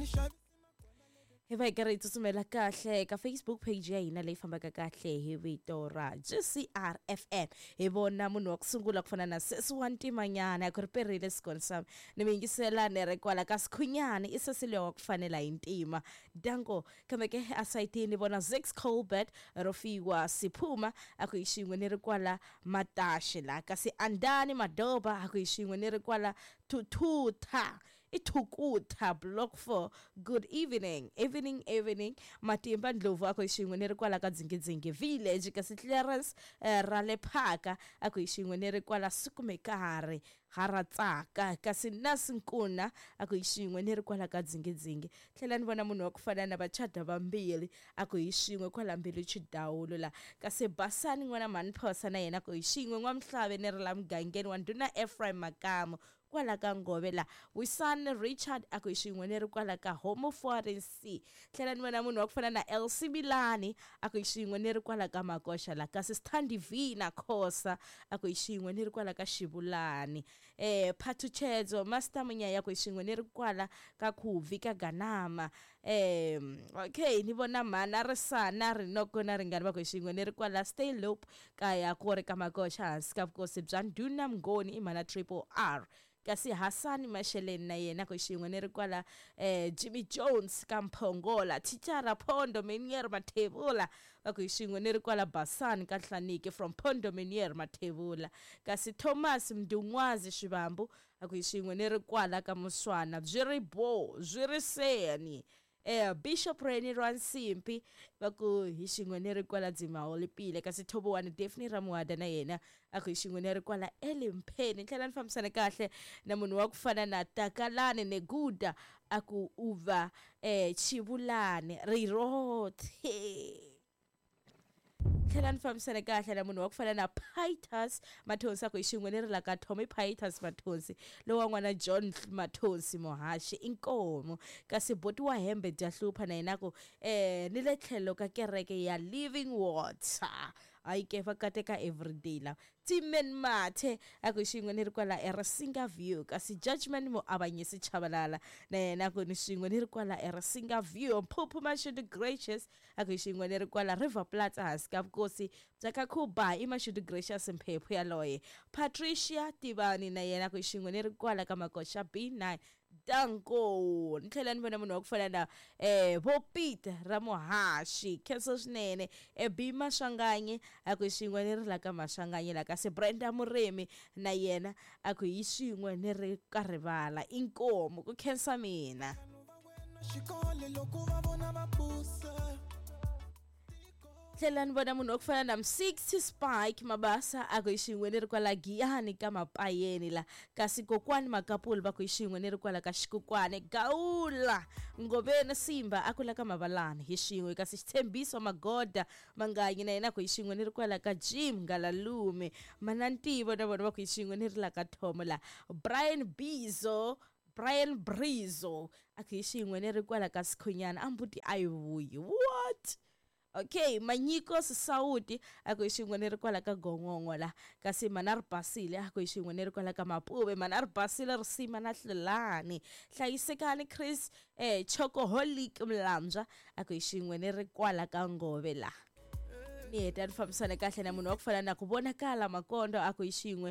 Hi va hi karhi hi tsutsumela kahle ka Facebook page ya hina leyi fambaka kahle hi vito ra GCR FM. Hi vona munhu wa ku sungula ku fana na sesi wa ntimanyana ku ri perile sikoni ni mi yingisela ni ri kwala ka Sikhunyani i sesi luya wa ku fanela hi ntima. Danko kambe ke asayitini ni vona Zix Colbert ro fiwa Siphuma a ku hi xin'we ni ri kwala Mataxe la, kasi Andani Madoba a ku hi xin'we ni ri kwala Thuthutha i Thukutha Block 4. Good evening, evening, evening. Matimba Ndlovu a ku hi xin'we ni ri kwala ka Dzingidzingi Village, kasi Clarence ra le Phaka a ku hi xin'we ni ri kwala Sukumekare ha ra tsaka, kasi Nasi Nkuna a ku hi xin'we ni ri kwala ka Dzingidzingi. Tlhela ni vona munhu wa ku fana na vachada vambirhi a ku hi xin'we kwala Mbilu Chidawulo la, kasi Basani n'wana mhani Phosa na yena ku hi xin'we N'wamhlave ni ri la mugangeni wa ndhuna Ephraim Makamu kwala ka Ngove la. Wisani Richard a ku hi xin'we ni ri kwala ka Homo Foreign C. Tlhela ni vona munhu wa ku fana na Elsie Milani a ku hi xin'we ni ri kwala ka Makoxa la, kasi Sthandi V na Khosa a ku hi xin'we ni ri kwala ka Xivulani. Phathutshedzo Master Munyaya ku hi xin'we ni ri kwala ka Khuvi ka Ganama. Okay, ni vona mhana Risana Rinoko na Ringani va ku hi xin'we ni ri kwala Stay Loop kaya ku ri ka Makoxa hansi ka vukosi bya Ndhuna Mngoni i mhana Triple R. Kasi Hasani Masheleni na yena ku xin'we ni ri kwala Jimmy Jones ka Mphongola, Thicara Phondo Menier Mathebula va ku hi xin'we ni ri kwala Basani ka Hlaniki from Phondo Menier Mathebula. Kasi Thomas Mdungwazi Xivambu a ku hi xin'we ni ri kwala ka Muswana byi ri bo byi ri seni. Bishop Reni Rwansimpi va ku hi xin'we ni ri kwala Dzimaholipile, kasi Thobowani Daphne Ramuhada na yena a ku hi xin'we ni ri kwala Elimpheni. Tlhela ni fambisana kahle na munhu wa ku fana na Takalani Neguda a ku u va Chivulani Rirothe. Tlhela ni fambisana kahle na munhu wa ku fana na Pitus Mathonsi a ku hi xin'we ni ri la ka Tommy Pitus Mathonsi lowa n'wana John Mathonsi Muhaxi inkomu. Kasi boti wa hembe dya hlupha na yena ku ni le tlhelo ka kereke ya Living Water. Hayi ke va kateka everyday la. Timen Mathe a ku xin'we ni ri kwala eRasinga View, kasi Judgment Muavanyisi Chabalala na yena ku ni xin'we ni ri kwala eRasinga View. Mphuphu Mashudu Gracious a ku xin'we ni ri kwala River Platz hansi ka vukosi bya ka Khuba i Mashudu Gracious Mphephu yaloye. Patricia Tivani na yena ku xin'we ni ri kwala ka Makoxa B9. Danko. Ni tlhela ni vona munhu wa ku fana na vo Peter Ramuhaxi khensa swinene. B Maswanganyi a ku xin'we ni ri la ka Maswanganyi la, kasi Brenda Murimi na yena a ku hi xin'we ni ri ka rivala inkomu ku khensa mina. Xikolo loko va vona va phusa. Tlhela ni vona munhu wa ku fana na M60 Spike Mabasa a ku hi xin'we ni ri kwala Giyani ka Mapayeni la, kasi kokwani Makapuli va ku hi xin'we ni ri kwala ka Xikukwane. Gawula Ngoveni Simba a ku la ka Mavalani hi xin'we, kasi Xitshembiso Magoda Manganyi na yena ku hi xin'we ni ri kwala ka Jim Ngalalume. Manantivo na vona va ku hi xin'we ni ri la ka Thomo la. Brian Bizo Brian Brizo a ku hi xin'we ni ri kwala ka Sikhunyana a mbuti a yi vuyi. What? Okay, Manyiko Sisawuti a ku hi xin'we ni ri kwala ka Gongongo la, kasi mana ri basile a ku hi xin'we ni ri kwala ka Mapuve, mana ri basile risima na Hlulani. Hlayisekani Chris Chokoholic Mlambya a ku hi xin'we ni ri kwala ka Ngove la. Ni heta ni fambisana kahle na munhu wa ku fana na ku vonakala Makondo a ku hi xin'we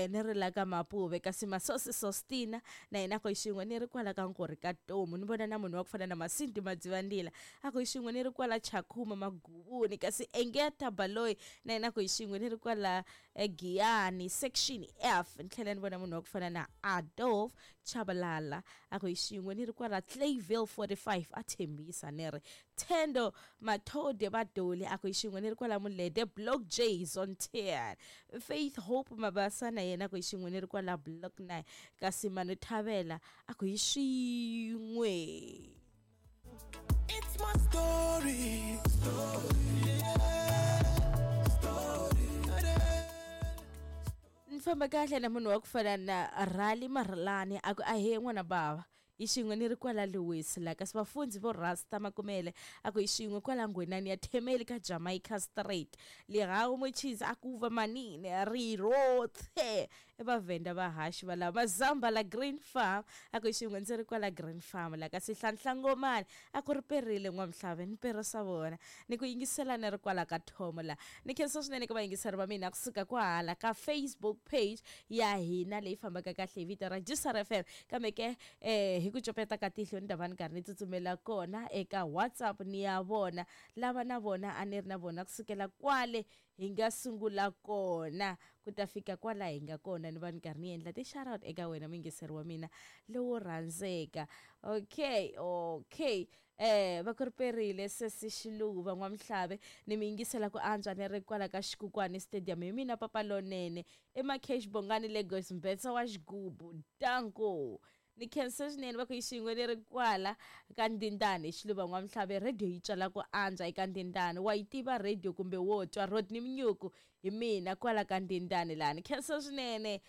ni ri la ka Mapuve, kasi Masosi Sostina na yena a ku hi xin'we ni ri kwala ka Nkorhi ka Tomu. Ni vona na munhu wa ku fana na Masindi Madzivandila a ku hi xin'we ni ri kwala Chakhuma Maguvuni, kasi Engeta Baloyi na yena a ku hi xin'we ni ri kwala Giyani section F. Ni tlhela ni vona munhu wa ku fana na Adolf Chabalala a ku hi xin'we ni ri kwala Clayville 45 a tshembisa ni ri Thendo Mathode Badoli a ku hi xin'we ni ri kwala Mulede Block J Zone 10. Faith Hope Mabasa na yena a ku hi xin'we ni ri kwala Block 9, kasi Manu Thavela a ku hi xin'we. It's my story. Story. Yeah. Story. Ni famba kahle na munhu wa ku fana na Rali Marlani a ku ahee n'wana bava hi xin'we ni ri kwala Lewis la, kasi vafundzi vo Rasta Makumele a ku hi xin'we kwala Ngwenani ya Themeli ka Jamaica Street. Lihawu Muchizi a ku va manini rirothe. Vavhenda vahaxi va lava mazamba la Green Farm, a ku xin'we ndzi ri kwala Green Farm la kasi Hlanhlangomani a ku ri perile N'wamhlave ni perisa vona ni ku yingisela ni ri kwala ka Thomo la. Ni khensa swinene ka vayingiseri va mina kusuka kwahala ka Facebook page ya hina leyi fambaka kahle hi vito ra GCR FM. Kambe ke hi ku copeta ka tihlo ni ta va ni karhi ni tsutsumela kona eka WhatsApp ni ya vona lava na vona a ni ri na vona kusukela kwale hi nga sungula kona ku ta fika kwala hi nga kona, ni va ni karhi ni endla ti-shout-out eka wena muyingiseri wa mina lowo rhandzeka. Okay, okay. Va ku ri perile sesi Xiluva N'wamhlave, ni mi yingisela ku antswa ni ri kwala ka Xikukwani Stadium hi mina papa lonene eMacash Bongani Lagos Mbetsa wa xigubu danko. Ni khensa swinene va ku hi xin'we ni ri kwala ka Ndindani Xiluva N'wamhlave, radio yi tswala ku antswa eka Ndindani. Wa yi tiva radio kumbe wo twa Rodney Mnyuku hi mina kwala ka Ndindani laha. Ni khensa swinene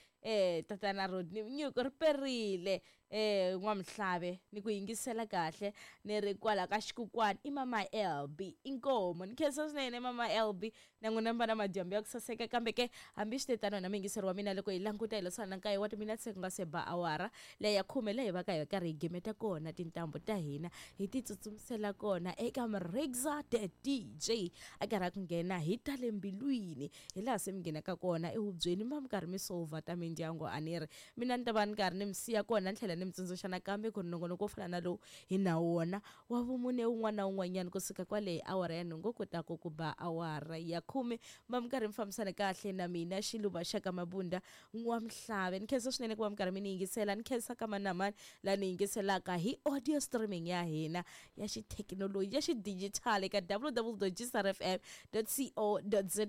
tatana Rodney Mnyuku, ri perile N'wamhlave ni ku yingisela kahle ni ri kwala ka Xikukwani i mama LB inkomo. Ni khensa swinene mama LB na n'wina mi va na madyambu ya ku saseka. Kambe ke hambi swi te tano wena muyingiseri wa mina, loko hi languta hi leswana nkaye wa timinetse ku nga se ba awara leyi ya 10 leyi hi va ka hi karhi hi gimeta kona tintambu ta hina hi ti tsutsumisela kona eka Mrigza the DJ a karhi a ku nghena hi ta le mbilwini hi laha se mi nghenaka kona ehubyeni mi va mi karhi mi solva ta mindyangu. A ni ri mina ni ta va ni karhi ni mi siya kona ni tlhela ni mi tsundzuxa nakambe ku ri nongonoko wo fana na lowu hi na wona wa vumune wun'wana na wun'wanyana kusuka kwale hi awara ya 8 ku ta ku ku ba awara ya 10 va mi karhi mi fambisana kahle na mina Xiluva xa ka Mabunda N'wamhlave. Ni khensa swinene ku va mi karhi mi ni yingisela, ni khensa ka mani na mani laha ni yingiselaka hi audio streaming ya hina ya xithekinoloji ya xidigitali eka www.gcrfm.co.za.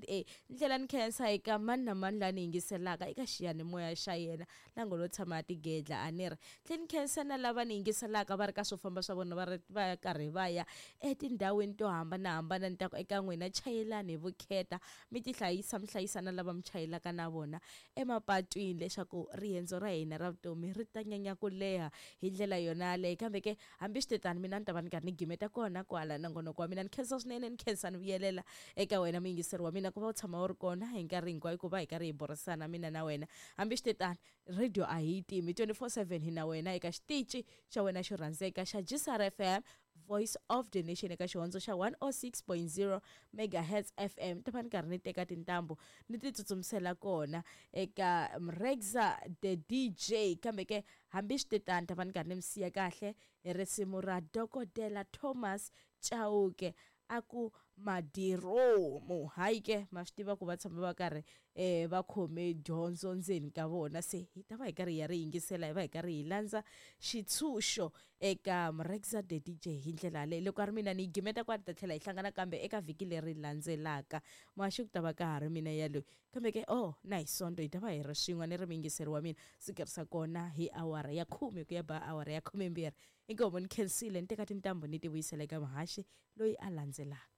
Ni tlhela ni khensa eka mani na mani laha ni yingiselaka eka xiyanimoya xa yena la ngo lo tshama a tigedla a ni ri. Tlhela ni khensa na lava ni yingiselaka va ri ka swo famba swa vona va ri va karhi va ya etindhawini to hambanahambana. Ni ta ku eka n'wina chayelani hi vukheta, mi tihlayisa mi hlayisa na lava mi chayelaka na vona emapatwini leswaku riendzo ra hina ra vutomi ri ta nyanya ku leha hi ndlela yona yaleyo. Kambe ke hambi swi te tano mina ni ta va ni karhi ni gimeta kona kwala nongonoko wa mina. Ni khensa swinene, ni khensa ni vuyelela eka wena muyingiseri wa mina ku va u tshama u ri kona hi nkarhi hinkwayo ku va hi karhi hi burisana mina na wena. Hambi swi te tano radio a hi yi timi 24/7 hi na wena eka xitichi xa wena xo rhandzeka xa GCR FM Voice of the Nation eka xihondzo xa 106.0 megahertz FM. Ta va ni karhi ni teka tintambu ni ti tsutsumisela kona eka Mrigza the DJ. Kambe ke hambi swi te tano ta va ni karhi ni mi siya kahle hi risimu ra Dokodela Thomas Chauke a ku madiromu. Hayi ke ma swi tiva ku va tshama va karhi va khome dyondzo ndzeni ka vona, se hi ta va hi karhi hi ya ri yingisela, hi va hi karhi hi landza xitshunxo eka Mrigza the DJ hi ndlela yaleyo. Loko a ri mina ni yi gimeta kwala, ta tlhela hi hlangana kambe eka vhiki leri landzelaka. Muhaxi ku ta va ka ha ri mina yaloyi, kambe ke na hi Sonto hi ta va hi ri swin'we ni ri muyingiseri wa mina sikerisa kona hi awara ya 10 ku ya ba awara ya 12. Inkomu ni khensile, ni teka tintambu ni ti vuyisela eka muhaxi loyi a landzelaka.